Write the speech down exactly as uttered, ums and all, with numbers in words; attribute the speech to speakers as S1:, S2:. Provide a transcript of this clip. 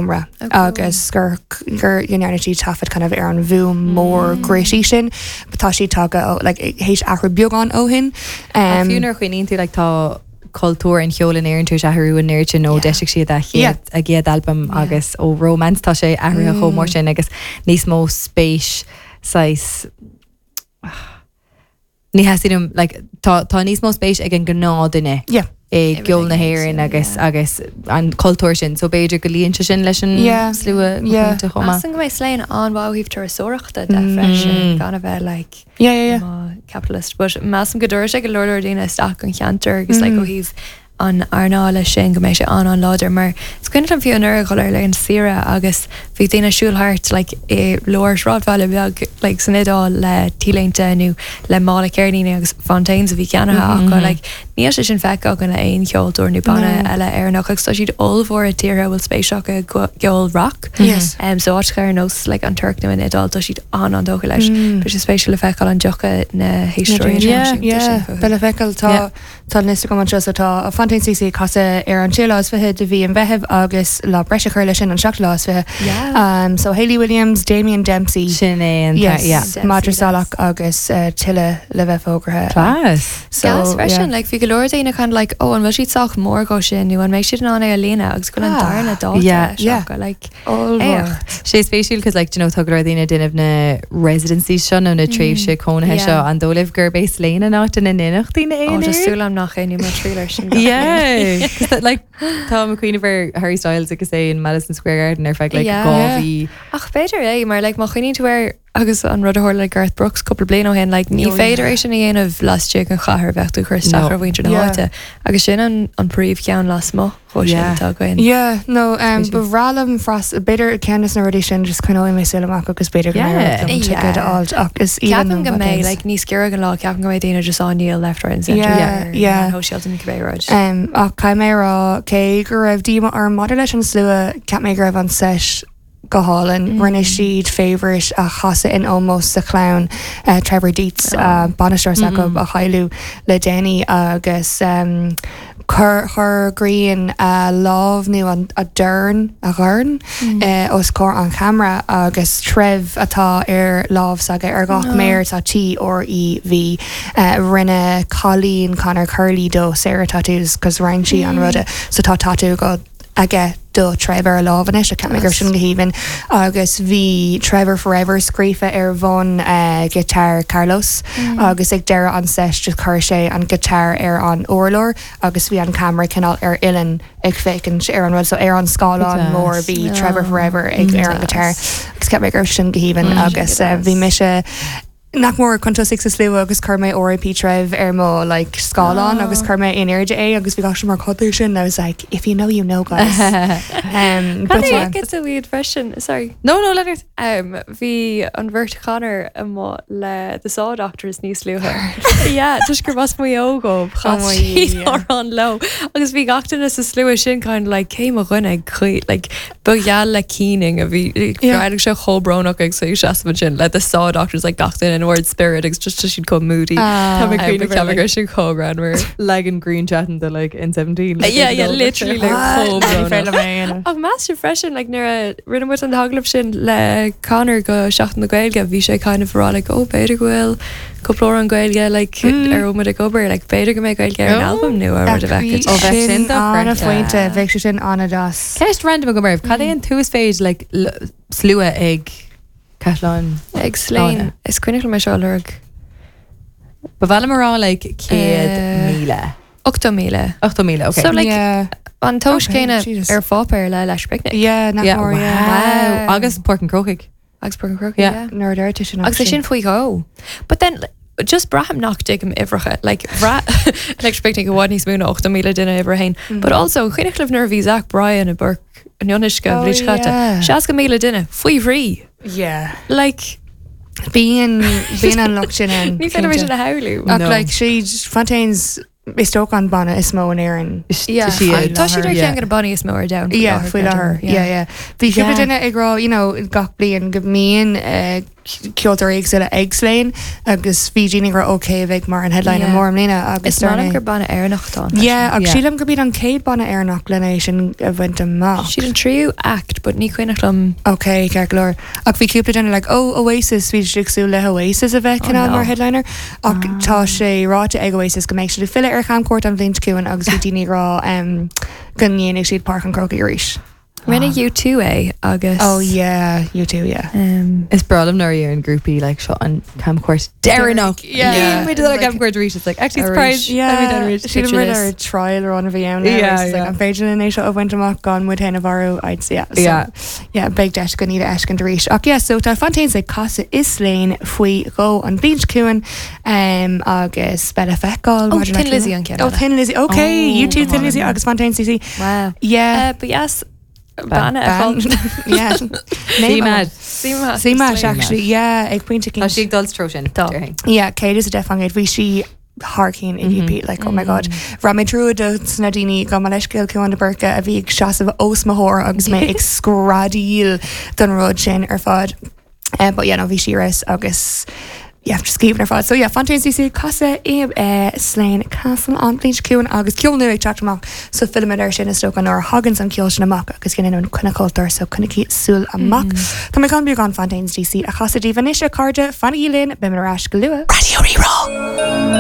S1: seomra agus gur gur dhearna siad taifead kind of ar an bhfuaim mór gritty sin, but tá sí tagtha ó like théis athrú beagán ó shin.
S2: Um, Fiú nuair a chuimhníonn tú like, tá cultúr an cheoil in Éirinn tar éis athrú an oiread sin ó
S3: Yeah.
S2: d'eisigh siad a chéad a gcéad albam agus ó Romance tá sé athraithe chomh mór sin agus níos mó spéis sais ní heim like, tá tá níos mó spéis ag an gnáthduine
S1: Yeah.
S2: i gceol na
S3: Everything,
S2: hÉireann agus
S3: yeah.
S2: agus an cultúr sin, so b'fhéidir go luíonn sé sin leis an
S1: Yeah.
S2: slua
S1: Yeah.
S2: chomh maith.
S3: Measaim go mbeidh Slane an-mhaith ó thaobh turasóireachta de freisin gan a bheith like
S1: Yeah, yeah, yeah.
S3: má capitalist, but measaim go dtabharfaidh sé go leor leor daoine isteach an cheantar agus like ó thaobh an earnála sin go mbeidh sé an an-láidir mar is cuimhin liom fiú anuraidh dul ar an saoire agus bhí daoine siúl thart like i lár sráidbhaile beag like san Iodáil le t-léinte nó le mála ceirníní agus Fontaines a bhí ceannaithe acu like níl sé sin feicthe againn le aon cheoltóir nó banna eile Éireannach agus tá siad ollmhór i tíortha a bhfuil spéis acu i gceol rock.
S1: Yes.
S3: Um, so áit ar nós like an Tuirc nó an Iodáil tá siad an an-tógtha leis. Bhí sé spéisiúil le feiceáil an dtiocfaidh na héisteoirí
S1: Yeah, yeah. Be le feiceáil tá
S2: Yeah.
S1: tá liosta agam anseo so tá Fontaines D C ag casadh ar an séú lá is fiche de mhí an Mheithimh agus lá breise chur leis sin an seachtú lá is fiche.
S3: Yeah.
S1: Um, so Hayley Williams, Damien Dempsey,
S2: Sin é an
S1: yes,
S2: yeah.
S3: Dempsey,
S1: Madra
S3: yes.
S1: Salach agus uh, tuilleadh le bheith fógartha.
S2: Class.
S1: So,
S3: Gas freisin,
S1: yeah.
S3: like bhí go leor daoine kind of like oh an bhfuil siad sách mór dó sin nó an mbeidh siad in ann é a líonadh agus go bhfuil an
S1: Ah,
S3: darna dáta
S2: yeah,
S1: yeah.
S3: yeah. like
S1: Ollmhór.
S3: éacht.
S2: Sé spéisiúil cos like, you know, tá go leor daoine ag déanamh na residencies seo nó na tréimhse cónaithe
S3: Yeah.
S2: seo an dóigh libh gurb é Slane an áit ina ndéanfaidh daoine
S3: Oh,
S2: é
S3: just súil agam nach é ní mar trílar sin.
S2: Yeah, 'Cause that, like tá ag cuimhneamh ar Harry Styles agus é in Madison Square Garden ar feadh like
S3: Yeah.
S2: dhá mhí.
S3: Ach b'fhéidir é mar like má chuimhníonn tú air agus an rud a tharla le Garth Brooks cúpla bliain ó shin like ní
S1: Oh,
S3: féidir
S1: yeah.
S3: é sin a dhéanamh laistigh den chathair bheadh tú cur isteach
S2: No.
S3: ar mhuintir na
S1: Yeah.
S3: háite agus sin an an príomhcheann lasmuigh dhó sin
S2: Yeah.
S3: atá againn.
S1: Yeah, no, um,
S2: Spéisiúil.
S1: ba bhreá liom fras b'fhéidir ceann de na rudaí sin just coinneoidh mé súil amach agus b'fhéidir go
S2: Yeah.
S1: mbeidh ticket
S3: Yeah.
S1: a fháil ach is
S3: Ceapaim go mbeidh like níos giorra an lá ceapaim go mbeidh daoine just á ndíol left right and center
S1: Yeah,
S3: ar
S1: yeah.
S3: shóisialta nó cibé rud.
S1: Um, ach caithfidh mé rá cé go raibh díomá orm maidir leis an slua ceap mé go raibh an set go hálainn mm. rinne siad Favourite a chasadh in ómós sa chlann uh, Trevor Dietz oh. uh, bainisteoir mm -hmm. a cailleadh le déanaí agus um, chur chur Grian a lámh nó an a dorn a dhorn mm. uh, os comhair an camera agus Trev atá ar lámh s'aige ar gach no. méar tá T R E V uh, rinne cailín Conor Curley dó Sarah tattoos cos rinne sí an ruda so tá tattoo go aige do Trevor a lámh anois a ceap mé gur sin go haoibhinn agus bhí Trevor Forever scríofa ar bhun uh, guitar Carlos mm. agus ag deireadh an set just chuir sé an guitar ar an urlár agus bhí an camera cineál ar uillinn ag féachaint ar an rud so ar an scáileán mór bhí
S3: No.
S1: Trevor Forever ag ar an guitar agus ceap mé gur sin go haoibhinn
S3: Mm.
S1: agus uh, bhí mise nach mór chun tosaigh sa slua agus chuir mé R I P Trev ar mo like scáileán
S3: Oh.
S1: agus chuir mé in airde é agus bhí gach mar codú sin I was like if you know you know guys um, but yeah.
S3: It's a weird freisin sorry.
S2: No no Leonard.
S3: Um, bhí an bheirt Connor amuigh le The Saw Doctors níos luaithe. Yeah, just gur as Maigh Eo dóibh
S1: Oh my yeah.
S3: an leo. Agus bhí gach duine sa slua sin kind of like cé mo dhuine chuí like ba gheall le caoineadh a bhí
S1: Yeah.
S3: sé chomh brónach ag sé seasamh sin le The Saw Doctors like gach duine in word spirit agus just siad chomh moody.
S1: Ah.
S2: Tá mé
S3: Um,
S2: cuimhneamh ar,
S3: ceap
S2: like-
S3: gur sin chomh greannmhar.
S2: Legan green chatting the like in seventeen. Like,
S3: Yeah, yeah, literally like chomh
S1: Ní féidir
S3: brónach.
S1: liom é a dhéanamh.
S3: Ach meas sibh freisin like nuair a rinne muid an t-agallamh sin le Conor go Seachtain na Gaeilge bhí sé kind of rá like oh b'fhéidir go bhfuil cúpla an Gaeilge like ar muid ag obair like b'fhéidir go mbeidh Gaeilge ar an
S2: Oh.
S3: album nua rud a bheith
S2: Ó, bheadh sin
S1: sin
S2: dochreidte.
S1: an-phointe bheadh sé sin an-deas.
S2: Ceist random agam oraibh, cad é an t-uasmhéid like l- slua ag Caisleán
S3: ag Slane is cuimhin mé seo lorg
S2: Ba mhaith liom rá like céad
S3: Eh,
S2: míle.
S3: ochtó míle.
S2: Ochtó míle, okay.
S3: So like
S1: Yeah.
S3: an tomhas
S1: Okay,
S3: céanna
S1: Jesus.
S3: ar pháipéar le Electric Picnic
S1: Yeah, nach
S2: yeah,
S1: mór,
S2: wow.
S1: yeah.
S3: Wow.
S2: Agus Páirc an Chrócaigh.
S3: agus Páirc an Chrócaigh,
S2: Yeah.
S3: yeah.
S1: Nuair a deir tú sin
S3: Agus é sin faoi dhó. But then just braithim nach dtuigim uimhreacha like bhraith Electric Picnic i bhfad níos mó ná ochtó míle duine uimhir a haon. But also cuimhin libh nuair a bhí Zach Bryan i bPáirc an Fhionnuisce
S1: Oh,
S3: bhliain chaite.
S1: yeah.
S3: Seasca míle duine faoi thrí.
S1: Yeah.
S3: Like
S1: Bíonn bíonn an lucht sin ann,
S3: ní féidir
S1: cinnte.
S3: sin a shamhlú.
S1: Ach
S2: No.
S1: like siad Fontaines is dócha an banna is mó in Éirinn.
S3: Yeah.
S2: siad.
S3: Tá siad ar
S2: Yeah.
S3: cheann de na bannaí is mó ar domhan.
S1: Yeah, faoi láthair. Yeah, yeah. Bhí cúpla
S2: Yeah.
S1: duine ag rá, you know, gach bliain go mbíonn uh, ceoltóirí éagsúla ag Slane agus bhí daoine ag rá okay bheidh mar an headliner
S3: Yeah.
S1: mór i mbliana agus
S3: Is maith gur
S1: dar
S3: banna Éireannach atá ann
S1: Yeah, ach
S2: Yeah.
S1: sílim gurb iad an chéad banna Éireannach lena é sin a bhaint amach.
S3: Siad an tríú act, but ní cuimhneach liom
S1: Ok, ceart go leor. Ach bhí cúpla duine like, oh, Oasis, bhí siad ag súil le Oasis a bheith
S3: Oh,
S1: cineál
S3: no.
S1: mar headliner. Ach tá sé ráite ag Oasis go mbeidh siad ag filleadh ar Chamchuairt an bhliain seo chugainn agus bhí daoine ag rá um, go ndéanfaidh siad Páirc an Chrócaigh arís.
S3: Rinne U two é agus
S1: Oh yeah, U two, yeah.
S3: um,
S2: Is breá liom nuair a grúpaí like seo an camchuairt deireanach.
S1: Yeah.
S2: We did
S3: Like-
S2: camchuairt arís. It's like actually
S3: Arís.
S2: surprise.
S1: Yeah,
S3: Picture
S1: sílim
S3: this.
S1: ar trial run a bhí ann
S2: Yeah, yeah.
S1: an féidir linn é seo a bhaint amach gan muid féin a mharú I'd say, yeah, so,
S2: Yeah.
S1: yeah, beidh deis go ní eiscin arís. Ach yeah, so tá Fontaines ag casadh i Slane faoi dhó an bhliain seo chugainn um, agus beidh le feiceáil
S3: Oh,
S1: maidir le
S3: Thin Lizzy an ceann
S1: Oh,
S3: eile.
S1: Thin Lizzy. Okay,
S2: Oh,
S1: U two, Thin Lizzy agus Fontaines D C.
S3: Wow.
S1: Yeah.
S3: Uh, but yes, banna
S1: Ban- yeah.
S2: See mad.
S1: C-Mash actually, yeah, ag pointe
S2: Tá sí ag dul tro sin.
S3: Tá.
S2: déarfainn.
S1: Yeah, céad is a deich faoin gcéad bhí sí thar cinn i G P, like, oh my God. Ra mé trú do sna daoine go leiscéil cuan de Burke a bhí ag seasamh os mo chomhair agus mé ag screadaíl don rud sin ar fad. Uh, but yeah, no, bhí sí ris agus yeah, just scríobh ar fad. So yeah, Fontaines D C casadh i uh, Slane Castle an bhliain seo chugainn agus ceol nua ag teacht amach so fillfimid air sin is dócha nuair a thagann an ceol sin amach agus gin an coinne cultúr so coinnigí súil amach. Tá mé chun beagán Fontaines D C a chasadh daoibh anois, a chairde, fanaigí linn, beimid ar ais go luath. Radio Rí-Rá.